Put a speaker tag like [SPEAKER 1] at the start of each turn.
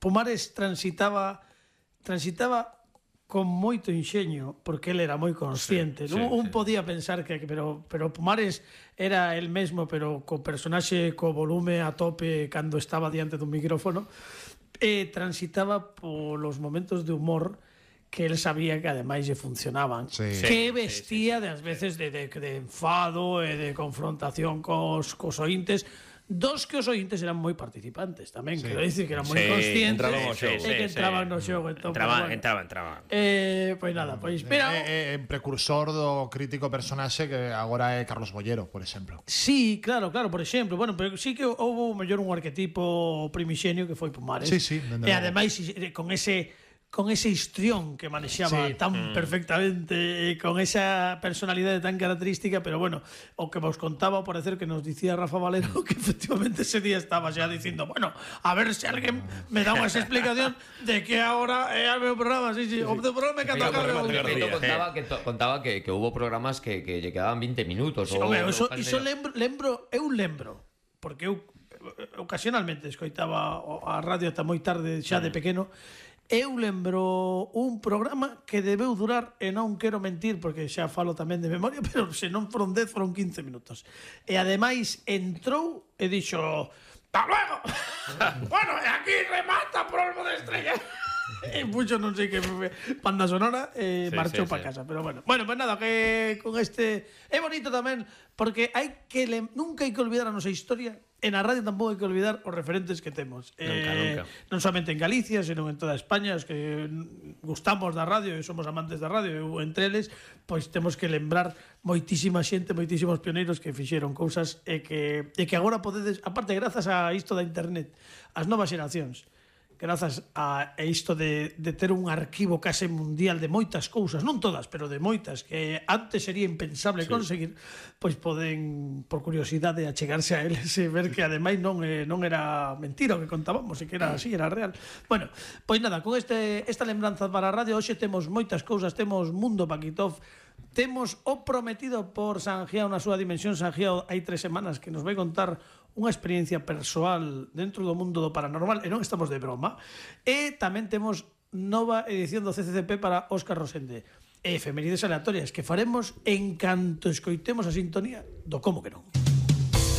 [SPEAKER 1] Pumares transitaba con moito inxeño, porque ele era moi consciente. Un podía pensar que pero Pumares era el mesmo, pero co personaxe co volume a tope cando estaba diante dun micrófono, e transitaba polos momentos de humor que el sabía que ademais lle funcionaban. Que vestía das veces de enfado e de confrontación cos ointes, dos que os ointes eran moi participantes tamén, quero dicir que eran moi conscientes e que entraban no xogo.
[SPEAKER 2] Entraban.
[SPEAKER 1] Pois nada, pois mira,
[SPEAKER 3] precursor do crítico personaxe que agora é Carlos Bollero, por exemplo.
[SPEAKER 1] Sí, claro, por exemplo, bueno, pero sí que houve mellor un arquetipo primixenio que foi Pumares. E ademais con ese histrión que manexaba tan perfectamente, con esa personalidade tan característica, pero bueno, o que vos contaba, ao parecer que nos dicía Rafa Valero, que efectivamente ese día estaba xa dicindo, bueno, a ver se alguén me dá unha explicación de que ahora é o meu programa, o meu programa que
[SPEAKER 4] contaba que hubo programas que lle quedaban 20 minutos.
[SPEAKER 1] Iso lembro, porque eu ocasionalmente escoitaba a radio ata moi tarde xa de pequeno. Eu lembro un programa que debeu durar, e non quero mentir porque xa falo tamén de memoria, pero se non foron 10, foron 15 minutos. E ademais entrou e dixo: "Hasta luego". Bueno, e aquí remata Polvo de Estrella. E puxo non sei que banda sonora e marchou para casa, pero bueno. Bueno, pues nada, que con este é bonito tamén porque nunca hai que olvidar a nosa historia. En a radio tampouco hai que olvidar os referentes que temos.
[SPEAKER 2] Nunca.
[SPEAKER 1] Non somente en Galicia, senón en toda España, os que gustamos da radio e somos amantes da radio, eu entre eles, pois temos que lembrar moitísima xente, moitísimos pioneiros que fixeron cousas e que agora podedes, aparte grazas a isto da internet, as novas xeracións, grazas a isto de ter un arquivo case mundial de moitas cousas, non todas, pero de moitas, que antes sería impensable conseguir, pois poden, por curiosidade, achegarse a eles e ver que ademais non era mentira o que contábamos, e que era así, era real. Bueno, pois nada, con esta lembranza para a radio, hoxe temos moitas cousas, temos Mundo Paquitov, temos o prometido por Sangiao na súa dimensión. Sangiao hai 3 semanas que nos vai contar unha experiencia persoal dentro do mundo do paranormal, e non estamos de broma. E tamén temos nova edición do CCCP para Óscar Rosende. E efemérides aleatorias que faremos en canto escoitemos a sintonía do Como que non.